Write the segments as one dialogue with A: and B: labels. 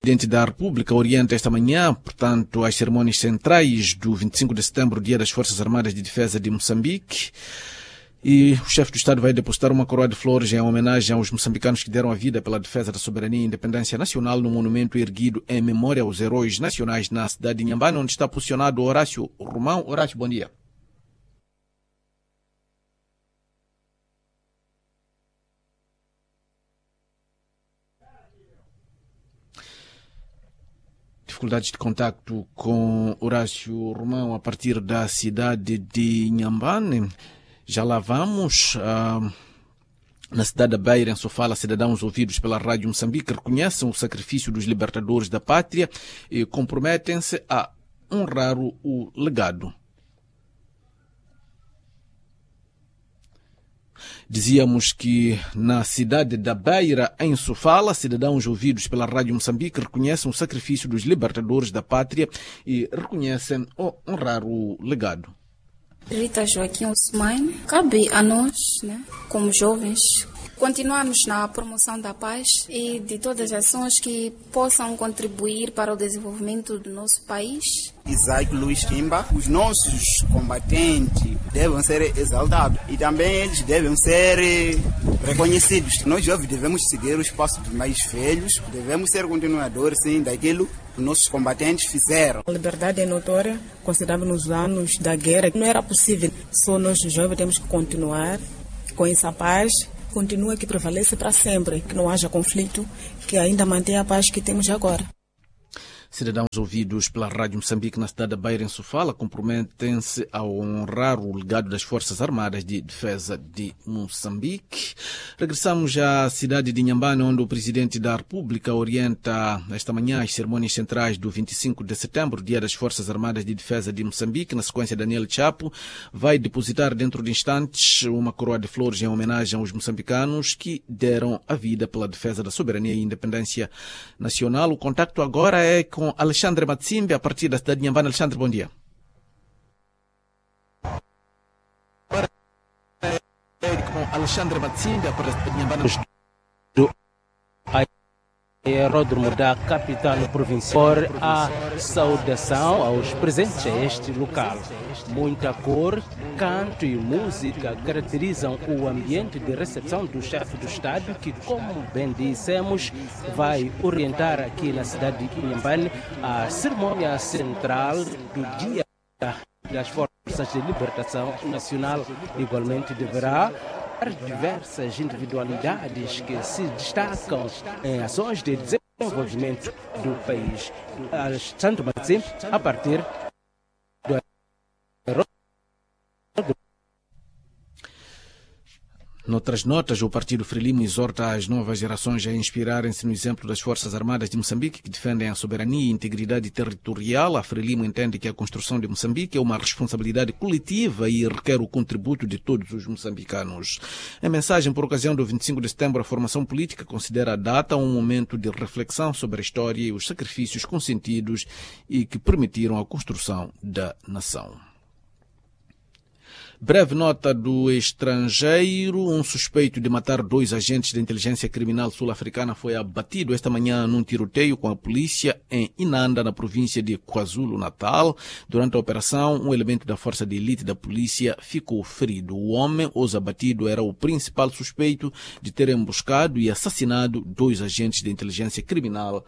A: Presidente da República orienta esta manhã, portanto, as cerimônias centrais do 25 de setembro, Dia das Forças Armadas de Defesa de Moçambique. E o chefe do Estado vai depositar uma coroa de flores em homenagem aos moçambicanos que deram a vida pela defesa da soberania e independência nacional no monumento erguido em memória aos heróis nacionais na cidade de Inhambane, onde está posicionado Horácio Romão. Horácio, bom dia. Dificuldades de contacto com Horácio Romão a partir da cidade de Inhambane. Já lá vamos. Na cidade da Beira, em Sofala, cidadãos ouvidos pela Rádio Moçambique reconhecem o sacrifício dos libertadores da pátria e comprometem-se a honrar o legado. Dizíamos que na cidade da Beira, em Sofala, cidadãos ouvidos pela Rádio Moçambique reconhecem o sacrifício dos libertadores da pátria e reconhecem o honrar o legado.
B: Rita Joaquim Ousmane, cabe a nós, né, como jovens, continuarmos na promoção da paz e de todas as ações que possam contribuir para o desenvolvimento do nosso país.
C: Isaac Luiz Kimba, os nossos combatentes devem ser exaltados e também eles devem ser reconhecidos. Nós jovens devemos seguir os passos dos mais velhos, devemos ser continuadores, sim, daquilo que nossos combatentes fizeram.
D: A liberdade é notória, considerando nos anos da guerra, não era possível. Só nós jovens temos que continuar com essa paz, continua que prevalece para sempre, que não haja conflito, que ainda mantenha a paz que temos agora.
A: Cidadãos ouvidos pela Rádio Moçambique na cidade da Beira, em Sofala, comprometem-se a honrar o legado das Forças Armadas de Defesa de Moçambique. Regressamos à cidade de Inhambane, onde o Presidente da República orienta esta manhã as cerimônias centrais do 25 de setembro, Dia das Forças Armadas de Defesa de Moçambique. Na sequência, Daniel Chapo vai depositar dentro de instantes uma coroa de flores em homenagem aos moçambicanos que deram a vida pela defesa da soberania e independência nacional. O contacto agora é com Alexandre Matsimbi, a partir da cidade de Inhambane. Alexandre, bom dia. Com Alexandre Matsimbi, a partir da cidade de Inhambane.
E: Do aeródromo da capital provincial, a saudação aos presentes a este local. Muita cor, canto e música caracterizam o ambiente de recepção do chefe do Estado, que, como bem dissemos, vai orientar aqui na cidade de Inhambane a cerimônia central do Dia das Forças de Libertação Nacional. Igualmente deverá diversas individualidades que se destacam em ações de desenvolvimento do país. Alexandre Matsim, a partir do
A: Noutras notas, o Partido Frelimo exorta as novas gerações a inspirarem-se no exemplo das Forças Armadas de Moçambique, que defendem a soberania e integridade territorial. A Frelimo entende que a construção de Moçambique é uma responsabilidade coletiva e requer o contributo de todos os moçambicanos. Em mensagem por ocasião do 25 de setembro, a formação política considera a data um momento de reflexão sobre a história e os sacrifícios consentidos e que permitiram a construção da nação. Breve nota do estrangeiro. Um suspeito de matar dois agentes de inteligência criminal sul-africana foi abatido esta manhã num tiroteio com a polícia em Inanda, na província de KwaZulu-Natal. Durante a operação, um elemento da força de elite da polícia ficou ferido. O homem, os abatido, era o principal suspeito de ter emboscado e assassinado dois agentes de inteligência criminal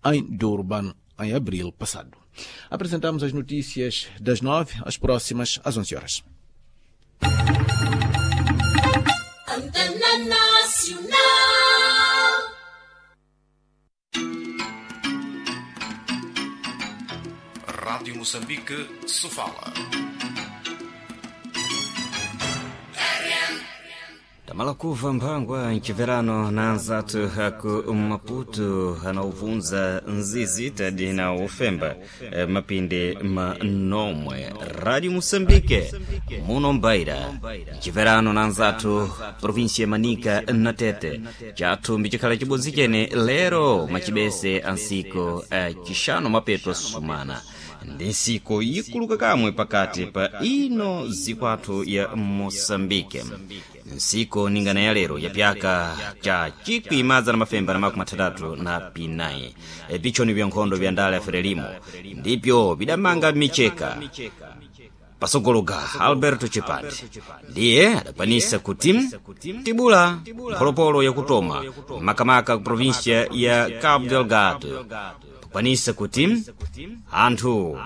A: em Durban, em abril passado. Apresentamos as notícias das 9, as próximas às 11 horas.
F: Antena Nacional.
G: Rádio Moçambique, Sofala.
H: Tamalakuva mphangwa mchiverano na anzathu aku Maputo anauvunza nzizi tadi na ufemba mapinde manomwe. Rádio Moçambique muno mbaira mchiverano na anzathu província Manica na Tete chathu mbicikhala cibodzi chene lero macibese ansiko cixano mapeto sumana ndi nsiko ikuluka kamwe pakati pa ino zikwathu ya Moçambique. Nsiku ningana ya lero ya pyaka cha 1964. Pichoni vya nkhondo vya ndale ya Frelimo ndipyo bidamanga micheka pasogologa Alberto Chipande ndiye adakwanisa kuti tibula mpholopolo yakutoma makamaka ku província ya Cabo Delgado, pakwanisa kuti anthu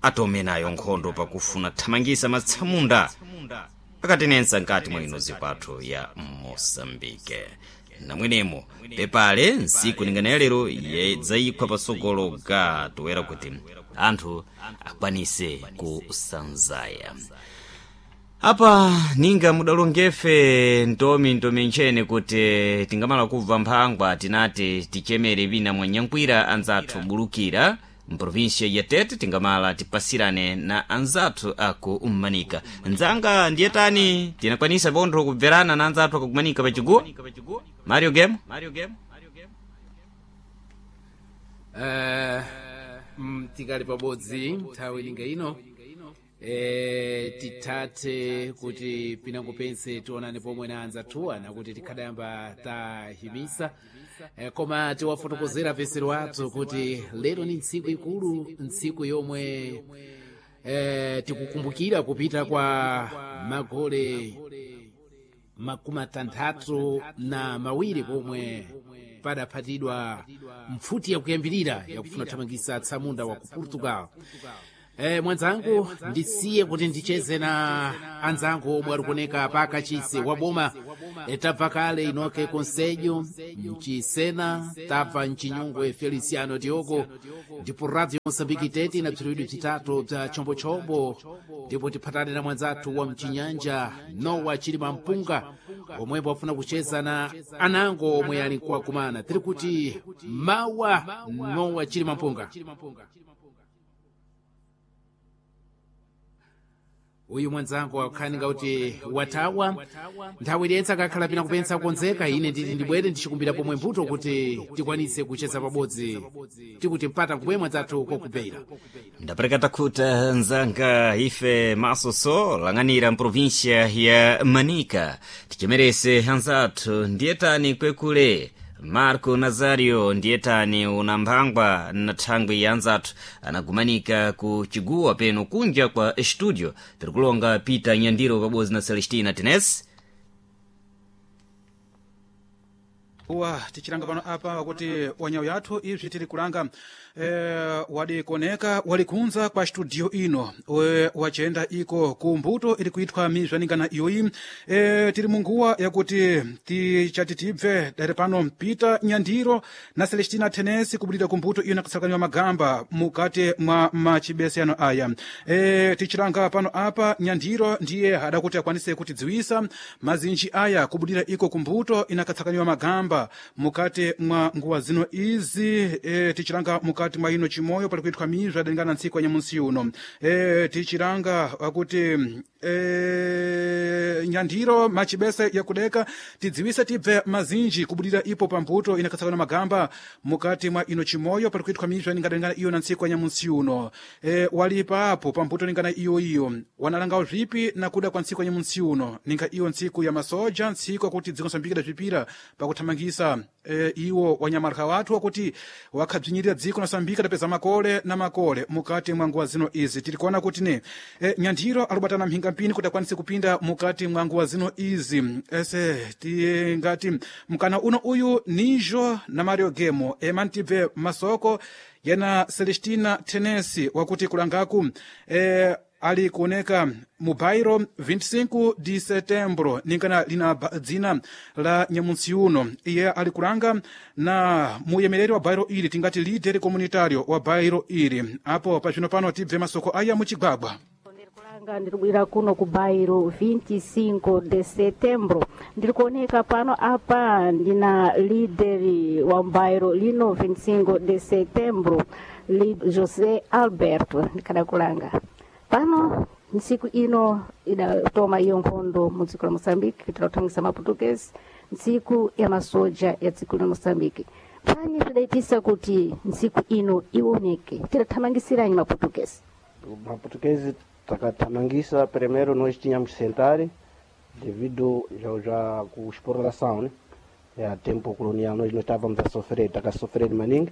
H: atome nayo nkhondo pakufuna thamangisa matsamunda akatenensa nkati mwa ino zipatho ya Moçambique. Namwenemo pepale nsiku ningana yalero yedzayikhwa pasogolo ga toera kuti anthu akwanise kusanzaya. Apa ninga mudalongefe ntomi ntomi ntchene kuti tingamala kubva mphangwa tinati tichemere vina mwanyankwira anzathu bulukira mprovinsia ya Tete, tingamala tipasirane na anzathu aku Manika. Nzanga ndiye tani tinakwanisa pontho kubverana na anzathu akakumanika pachiguwa Mario Game.
A: Tikali pabodzi nthawi ilinga ino, tithathe kuti pinango pense tionane pomwe na anzathuwa nakuti tikhadayamba tahimisa, koma tiwafotokozera pesero athu kuti lero ni ntsiku ikulu, ntsiku yomwe tikukumbukira kupita kwa magole 62 pomwe padaphatidwa mpfuti yakuyambirira yakufuna kuthamangisa atsamunda wa ku Portugal. Mwanzangu ndisiye kuti ndicheze na anzangu omwe alikuoneka pakachisi wa boma. Tabva kale inoke Conselho mchisena, tabva mchinyungwe Feliciano Diogo, ndipo Radio Mosambiki Tete na bziriwidwi bzitatu bza chombochombo, ndipo tiphatane na mwanzathu wa mchinyanja Nowa Chilima Mpunga omwepo afuna kucheza na anango omwe ali nkuwakumana. Tiri kuti mawa Nowa Chilima Mpunga. Uyu mwanzangu akukhaninga kuti wathawa nthawi iliyentse akakhala pina kupensa kukonzeka. Ine nditi ndibwere ndichikumbira pomwe mbuto kuti tikwanise kucheza pabodzi, tikuti mpata nkubwe mwanzathu kokubeira.
H: Ndapereka takhuta nzanga ife masoso lang'anira mprovinsia ya Manika, tichemerese anzathu ndiye tani kwekule Marco Nazario ndiye tani una mphangwa na thangwi ya anzathu anagumanika ku chiguwa peno kunja kwa studio. Tirikulonga Peter Nyandiro pabodzi na Celestina Tenes.
I: Wa tichilanga pano apa wakuti wanyawu yathu ibzi tiri kulanga wadikoneka walikunza kwa studio ino wachenda iko ku mbuto iri kuitwa mizvaningana iyoyi. Tiri munguwa yakuti tichati tibve dare pano Peter Nyandiro na Celestina Tenesi kubudira ku mbuto iyo nakutsakaniwa magamba mukati mwa machibeseyano aya. Tichilanga pano apa Nyandiro ndiye adakuti akwanise kutidziwisa mazinji aya kubudira iko kumbuto inakatsakaniwa magamba mukati mwa nguwa zino izi. Tichilanga mukati mwa ino chimoyo pali kuitwa mizwa adalingana ntsiku ya nyamunsi uno. Tichilanga akuti Nyandiro machibese yakudeka tidziwise tibve mazinji kubudira ipo pambuto inakatsakana magamba mukati mwa ino chimoyo pali kuitwa mizwa ingadalingana iyo na ntsiku ya nyamunsi uno. Walipa apo pambuto ningana iyo iyo wanalangawo zvipi nakuda kwa ntsiku ya nyamunsi uno ninga iyo ntsiku ya masoja, ntsiku yakuti dziko Mosambiki idazvipira pakuthamangisa iwo wanyamarika wathu wakuti wakhabzinyirira dziko Mosambiki adapeza makole na makole mukati mwa nguwa zino izi. Tiri kuona kuti ne Nyandiro alubatana mhingampini kuti akwanise kupinda mukati mwa nguwa zino izi ese tingati mkana uno uyu nijo na Mario Gemo emantibve masoko yena Celestina Tenesi wakuti kulangaku ali kuoneka mu bairo 25 de setembro ningana lina dzina la nyamunsi uno. Iye ali kulanga na muyemereri wa bairo ili tingati líder comunitario wa bairo ili apo pazvino pano tibve masoko aya muchigwagwa.
J: Kulanga ndiribwira kuno ku bairo 25 de setembro, ndiri kuoneka pano apa ndina lideri wa bairo lino 25 de setembro li José Alberto ndikada kulanga pano. Ntsiku ino idatoma iyo nkhondo mu dziko la Moçambique kuitira kuthamangisa maputukezi, ntsiku ya masoja ya dziko la Moçambique. Pani pidaitisa kuti ntsiku ino ioneke tidathamangisiranyi maputukezi?
K: Maputukezi takathamangisa, primeiro nós tínhamos que sentar, Devido já com exploração, né? É, tempo colonial nós não estávamos a sofrer, estava a sofrer maningue.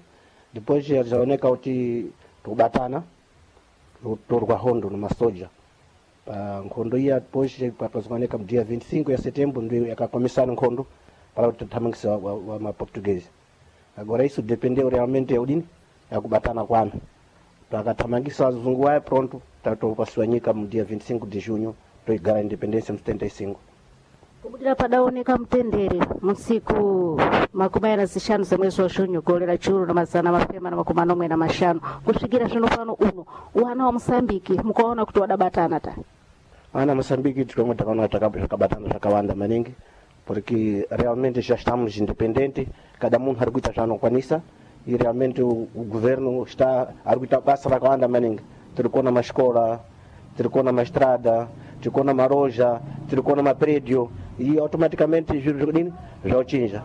K: Depois já oneka kuti tukubatana torwa hondo numa soja. Pa nkhondo iya depois pakazooneka dia 25 ya setembro ndio yakakomesana nkhondo para kuthamangisa wa maportuguese. Agora isso dependeu realmente ya udini ya kubatana kwanu. Takathamangisa azungu aya pronto tatopasiwa nyika mu dia 25 de junho toigara independência mu 75.
J: Kubudira padaoneka mtendere musiku 25 za mwezi wa junho golera churu na 775 kusvikira zvino pano uno wana wa Mosambiki mukaona kuti wadabatana ta
K: Ana Moçambique tikomwe takaona takabatana zvakawanda maningi porque realmente já estamos independentes, cada mundo ari kuita zvaanokwanisa e realmente o governo está ari kuita basa rakawanda maningi. Tiri kuona mascola, tiri kuona maestrada, tiri kuona maroja, tiri kuona maprédio e automaticamente zviro zvikudini zvauchinja.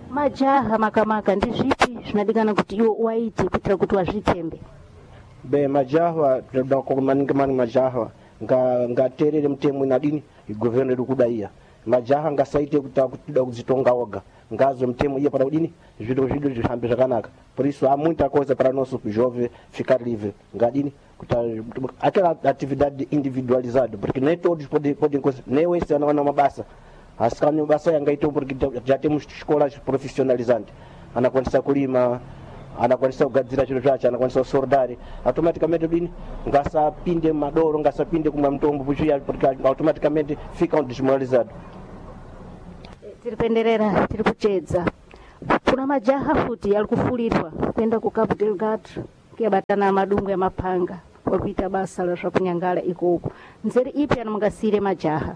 J: Majaha makamaka ndizvipi zvinodikana kuti iwo waite kuitira kuti wazvitembe?
K: Bem, majaha tinoda maningi maningi majaha ngateerere mutemo inadini governo iri kuda iya. Majaha ngasaite kuda kudzitonga oga, ngazwe mutemo iya para kudini zviro zvidu zvihambe zvakanaka. Por isso há muita coisa para nosso jovem ficar livre. Ngadini kuta aquela atividade individualizada, porque nem todos podem nem esse não é uma basa. Asi basa yangaito porque já temos escolas profissionalizantes. Anakwanisa kulima, anakwanisa kugadzira chiro zvacho, anakwanisa kusordari automaticamente dini ngasapinde madoro, ngasapinde kumwa mutombo puchiya porque automaticamente fica um desmoralizado.
J: Tiri kuenderera, tiri kuchedza. Kuna majaha futi ari kufurirwa kuenda ku Cabo Delgado kuyabatana madungu ya mapanga wakuita basa la zvakunyangala ikoko. Nzeri ipi anomungasire majaha?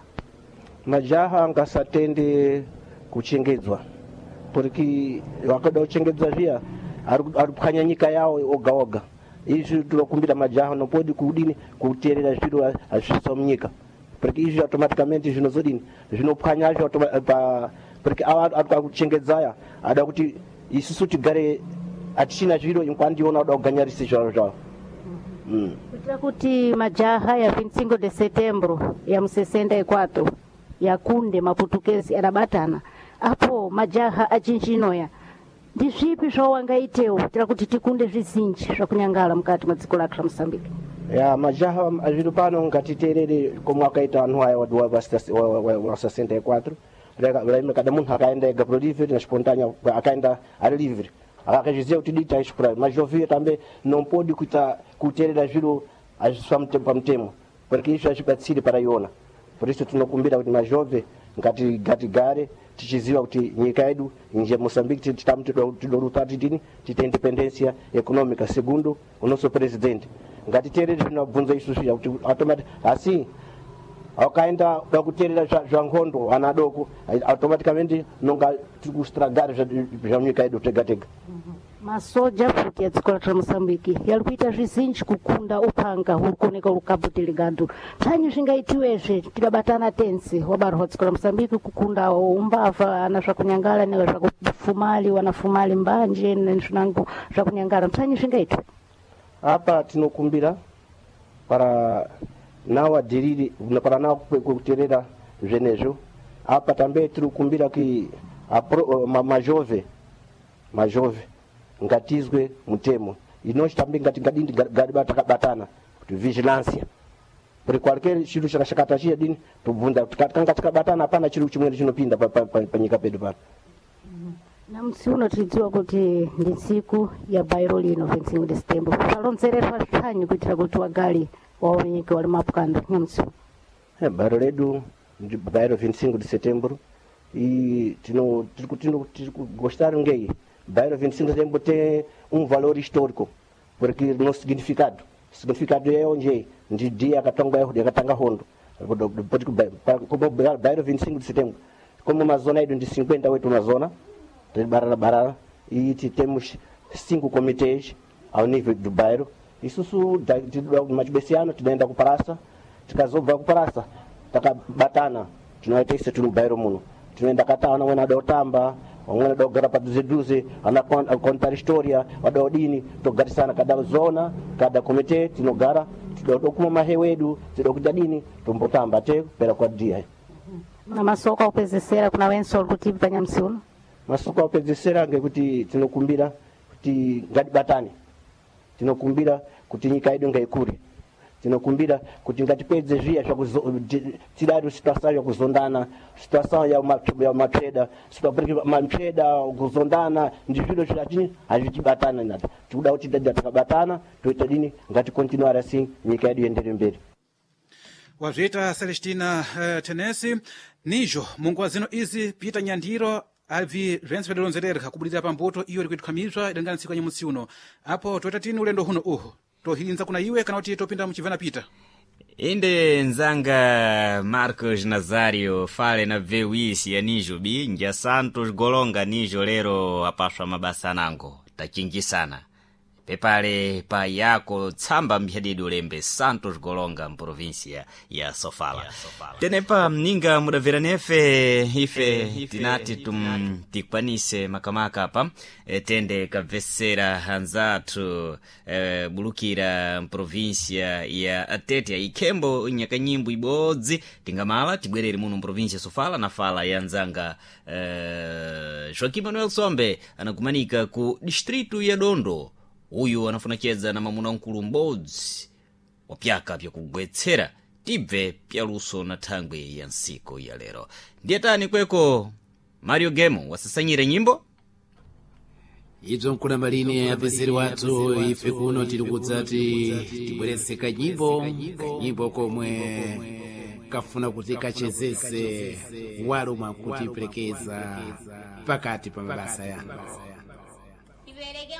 K: Majaha ngasatende kuchengedzwa porque wakada kuchengedzwa zviya ari kuphwanya nyika yawo oga oga. Izvi tinokumbira majaha nopodi kudini kuteerera zviro hazvisa munyika porque izvi automaticamente zvinozodini zvinophwanyazvo porque ava ari kuchengedzaya ada kuti isusu tigare hatichina zviro kwandiona ada kuganyarisa zvaro zvavo.
J: Kuitira kuti majaha ya 25 de setembro ya mu 64 yakunde maputukezi adabatana apo majaha achinjinoya ndizvipi zvawangaitewo kuitira kuti tikunde zvizinji zvakunyangala mukati mwa dziko lake la Mosambiki?
K: Ya majaha zviro pano ngatiteerere komwe akaita anhu aya wa 64 kada munhu akaenda ega pro livre na espontânea akaenda ari livre akazviziva kuti dita explorar, mas jovem também não pode kuteerera zviro azviswa pamutemo porque izvo hazvibatsiri para iona. Por isso tinokumbira kuti majove ngatigare tichiziva kuti nyika yedu nje Moçambique titamo tidoruta titini tite independência econômica segundo o nosso presidente. Ngatiteerere zvinobvunza isusu kuti automatic asi akaenda da kuteerera zva nkhondo ana adoko automaticamente nonga tiri kustragara zva nyika yedu tega tega.
J: Masoja futi ya dziko la Mosambiki yali kuita zvizinji kukunda upanga huri kuoneka uri Cabo Delgado. Tsanyi zvingaitiwezve tikabatana tense wabarwa dziko la Mosambiki kukunda umbavha ana zvakunyangala ne zvakufumali wanafumali mbanje nezvinango zvakunyangala tsanyi zvingaitwe.
K: Apa tinokumbira para nawo adiriri para nawo kuterera zvenezvo. Apa tambe tiri kukumbira ki majove ngatizwe mutemo inochi tambe ngatingadini takabatana kuti vigilância porque qualquer chiro chakashakata chiya dini tobvunza kanga tikabatana hapana chiro chimweni chinopinda panyika pedu pano.
J: Namusi uno tiridziwa kuti ndi ntsiku ya bairo lino 25 de setembro palonzererwa zvitanyi kuitira kuti wagali waoneke wali mapukando nyamusi
K: uno. Bairo ledu ndi bairo 25 de setembro e tino tiri kugostar ngei bairro 25 de setembro tem um valor histórico porque no significado é onde é ndi dia akatanga yakatanga hondo como bairro 25 de setembro como uma zona yedu ndi 58 uma zona barara barara e temos 5 comitês ao nível do bairro. Isusu machibesiano tinoenda kuparasa, tikazobva kuparasa takabatana tinoita ise tiri mubairo muno tinoenda katana wena ada kutamba wamwene ada kugara padhuze dhuze ana kontar historia wada udini togarisana kada zona kada komite tinogara tidoda kumwa mahewu edu tidoda kuita dini tombotamba te kupera kwa dia.
J: Na masoko akupezesera kuna wenso uri kutibva nyamusi uno?
K: Masoko akupedzesera ngekuti tinokumbira kuti ngatibatane, tinokumbira kuti nyika yedu ngaikure, tinokumbira kuti ngatipedze zviya tidari situação yakuzondana, situação ya mapyeda, mapyeda kuzondana ndi zviro zvatini hazvichibatana nato. Tikuda kuti dada takabatana toita dini, ngatikontinuare asi nyika yedu iendere mberi.
I: Wazviita Celestina Tenesi. Nizvo munguva zino izi Peter Nyandiro abvi zvense pedolonzerereka kubudira pambuto iyo iri kuitwa mizva idangana ntsiku ya nyamusi uno. Apo toita tini ulendo huno uhu tohinza kuna iwe kana kuti topinda muchibvana Peter?
H: Inde nzanga Marcos Nazario fale na vewisi ya nijo binja Santos Golonga nijo lero apaswa mabasa nango tachinjisana pepale pa yako tsamba mphyanidi ulembe Santos Golonga mprovinsia ya Sofala. Tenepa mninga mudabvera nefe ife tinati tikwanise makamaka apa tende kabvesera anzathu bulukira mprovinsia ya Tete ikhembo nyakanyimbo ibodzi tingamala tibwerere muno mprovinsia ya Sofala na fala ya nzanga Joaquim Manuel Sombe anakumanika ku distritu ya Dondo. Uyu anafuna chedza na mamuna mkulu m'bodzi wa pyaka pyakugwetsera tibve pyaluso na thangwe ya nsiku ya lero. Ndiye tani kweko Mario Gemo wasasanyire nyimbo
L: Ibzo nkulamba lini apezeri wathu ife kuno tili kudzati tibweretse kanyimbo, kanyimbo komwe kafuna kuti kachezese walumwa kutiperekeza pakati pa mabasa yanu.
F: Ibereke.